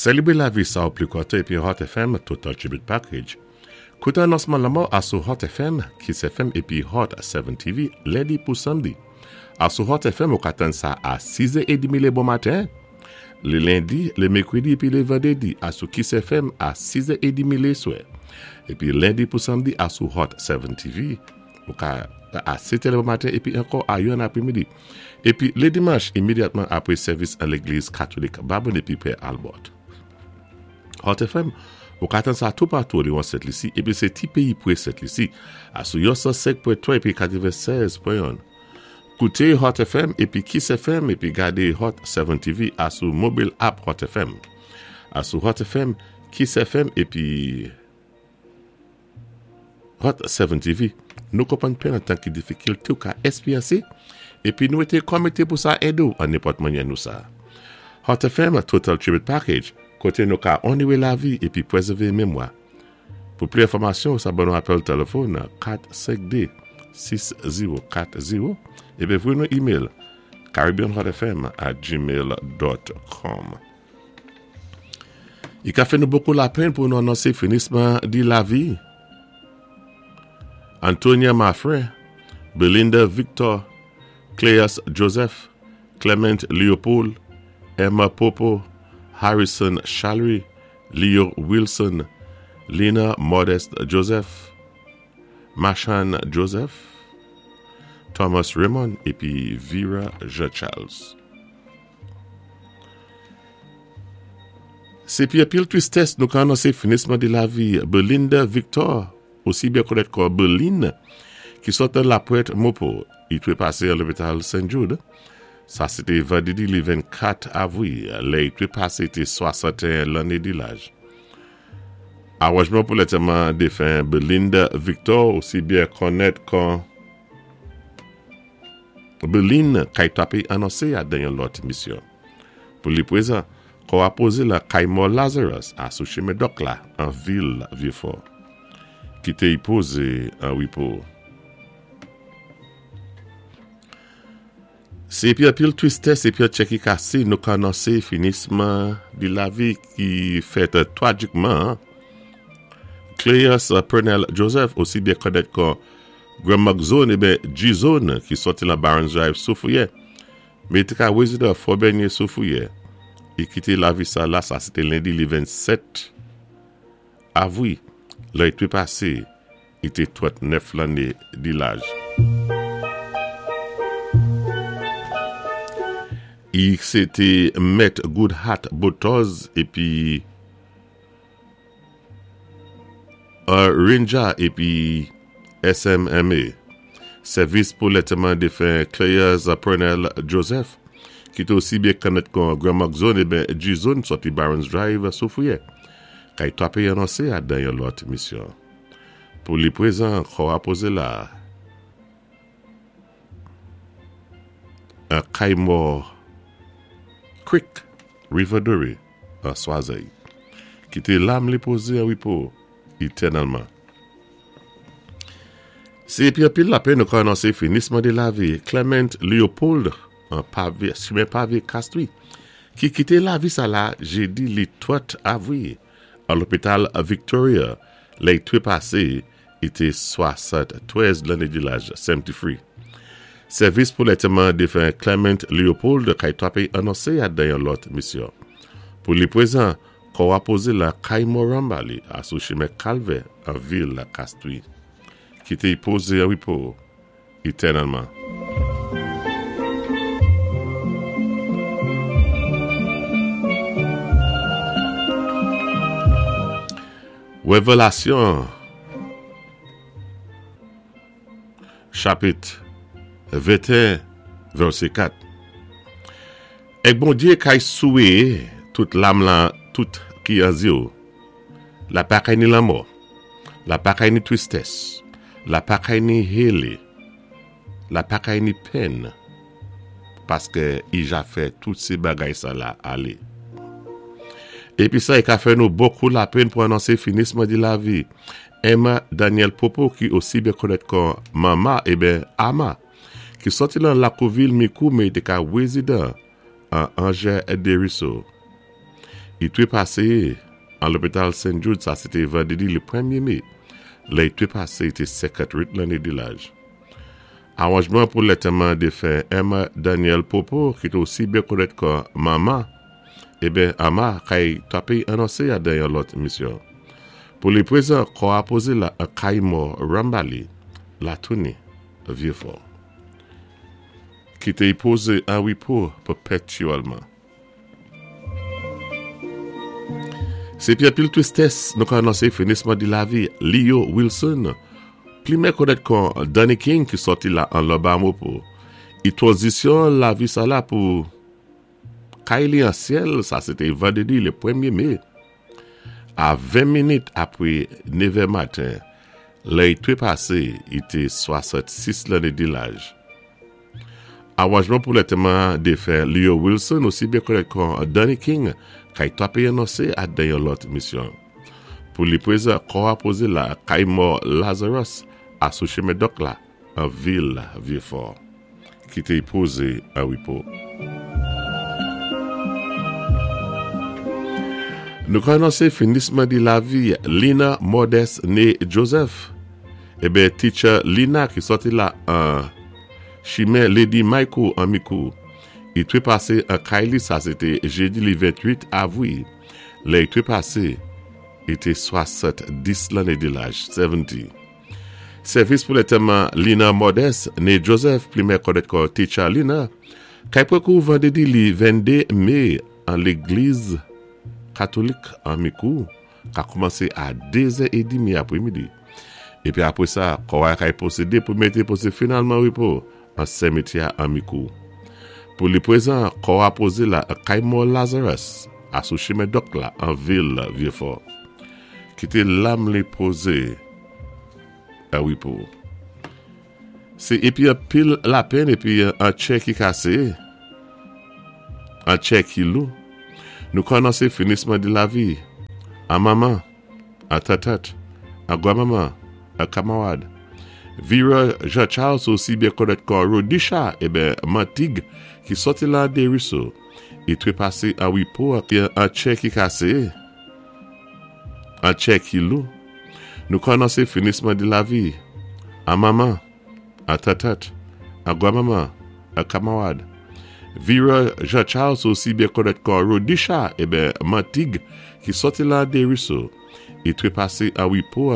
Selibre lavi sa ou pli kontan epi Hot FM Total Tribute Package. Koute anonsman lanmò a sou Hot FM, Kiss FM epi Hot 7 TV lendi pou samdi. A sou Hot FM ou ka tann sa a 6 è edmi le bon maten, le lendi, le mekredi epi le vandredi a sou Kiss FM a 6 è edmi le swè. Epi lendi pou samdi a sou Hot 7 TV ou ka a 7 è le bon maten epi ankò a 1 apremidi. Epi le dimanch imedyatman apre sèvis an legliz katolik Babon epi Pè Albert. Hot FM, ou ka tann sa toupatou oliwon Sent Lisi epi se ti peyi pre Sent Lisi a sou yon 105 pwen 3 epi 96 pwen 1. Koute Hot FM epi Kiss FM epi gade Hot 7 TV a sou mobile app Hot FM. A sou Hot FM, Kiss FM epi. Hot 7 TV, Nou konprann pè nan tan ki difikilte ou ka esperyanse epi nou ete kòmite pou sa ede w an nenpòt mannyè nou sa. Hot FM Total Tribute Package, kote nou ka onore lavi epi pwezève memwa. Pou pli enfòmasyon ou sa ban nou apèl telefòn 452 6040 epi voye nou email caribbeanhotfm at gmail dot com. I ka fè nou bokou lapenn pou nou anonse finisman di lavi Antonia Maffre, Belinda Victor, Cleus Joseph, Clement Leopold, Emma Popo, Harrison Chalry, Leo Wilson, Lina Modeste Joseph, Machann Joseph, Thomas Raymond epi Vera Jean Charles. Se pi anpil tristès nou ka anonse finisman de lavi Belinda Victor, osi byen konèt kò Beline, ki sot nan Lapwent Mopo. Li trepase an lopital St. Jude. Sa se te vandredi le 24 avri, lè li trepase te 61 lanne de laj. Aranjman pou lantèman defen Belinda Victor, osi byen konèt kon. Berline kay tape anonse a dan yon lòt misyon. Pou li prezan, kò a poze lan kay mò Lazarus a sou chemen Dòk la an vil Vyefò. Kite y poze an repo. Se epi anpil tristès epi an tchè ki kase nou ka anonse finisman di lavi ki fèt twajikman an. Cleus Pernell Joseph osi byen kònèt kon Grandma Zone eben G-Zone ki sòti lan Barons Drive Soufriè, men li te ka rezidan Fò Bènye Soufriè. Li kite lavi sa la, sa se te lendi li 27 avri, lè li te pase, li te 39 lanne di laj. I se te mèt Good Hat Botòz epi. Rinja epi SMMA, Sèvis pou Lèteman Defen Cleus Pernell Joseph, ki te osi byen konnèt kon Gran Mark Zone eben G-Zone sòti Barons Drive, Soufriè, kay 3 peyi anonse a dan yon lòt misyon. Pou li prezan, kò a poze la a Kay Mò Creek, River Dore, an Swazey. Kite lam li poze an repo etènèlman. Se epi anpil lapenn nou ka anonse finisman de lavi Clement Leopold an pave chimen pave Castries ki kite lavi sa la jedi li 30 avri an lopital Victoria lè y trepase Li te 73 lanne de laj, 73. Sèvis pou lèteman defen Clement Leopold kay 3 peyi anonse a dan yon lòt misyon. Pou li prezan, kò a poze lan kay Moramba li a sou chimen Kalvè an vil Kastri. Kite y poze an repo etènèlman. Revelasyon chapit 21 vèsè 4 Èk Bondye kay souwe tout lam lan tout ki an zye w, la pa kay ni lanmò, la pa kay ni tristès, la pa kay ni hele, la pa kay ni penn, paske i ja fè tout se bagay sa la ale. Epi sa i ka fè nou bokou lapenn pou anonse finisman di lavi Emma Daniel Popo ki osi byen konèt kon Mama eben Ama, ki sòti lan lakou vil Mikou men i te ka rezidan an Anjè Deriso. I twépasé an lopital St. Jude, sa sé té vandédi li pwémyé mé. Lè i twépasé, i té 58 lanné di laj. Awanjman pou lantèman défen Emma Daniel Popo, ki té osi byen konnèt kon Mama, eben Ama, kay twapé anonsé adan yon lòt misyon. Pou li pwézan, kò a pozé la an kay mò Rambali, Latouni, Vyéfò. Kité i pozé an wipo pèpètyèlman. Sé pi anpil twistès nou ka anonse finisman di lavi Leo Wilson, pli mè konnèt kon Danny King ki sòti la an Lòba Mopo. I twonzisyon lavi sa la pou kay li an syèl, sa se te vandredi le premye me a 20 minit apre nevè maten, lè i trepase i te 66 lanne di laj. Awanjman pou lantèman defen Leo Wilson, osi byen konnèt kon Danny King, kay twape anonse adan yon lòt misyon. Pou li pwezan, kò a poze la kay mò Lazarus a sou chemen Dòk la an vil Vyefò. Kite y poze an repo. Nou ka anonse finisman di lavi Lina Modeste née Joseph. Eben teacher Lina ki sòti la an chimen Lady Maykou an Mikou i trepase an kay li sa se te jedi li 28 avwi lè i trepase i te 70 lanne de laj 70 Sèvis pou lantèman Lina Modeste née Joseph plimè kònèt kò teacher Lina kay pran kou vandredi li 22 me an legliz katolik an Mikou ka koumanse a dezè edimi apremidi. Epi apre sa, kò a kay pwosede pou mete poze finalman repo an sèmetyè a an Mikou. Pou li prezan, kò a poze la an kay mò Lazarus a sou chemen Dòk la an vil Vyefò. Kite lam li poze an repo. Se epi anpil lapenn epi an tchè ki kase, an tchè ki lou. Nou kònanse finisman di lavi an manman, an tantant, an granmanman, an kamarad. Vira Jean Charles osi byen konnèt kon Rodisha eben Mantig ki sòti lan Desruisseaux e trepase an wipo an tchè ki kase, an tchè ki lou. Nou kònanse finisman di lavi an manman, an tantant, an granmanman, an kamarad. Vira Jean Charles osi byen konnèt kon Rodisha eben Mantig ki sòti lan Desruisseaux e trepase an wipo.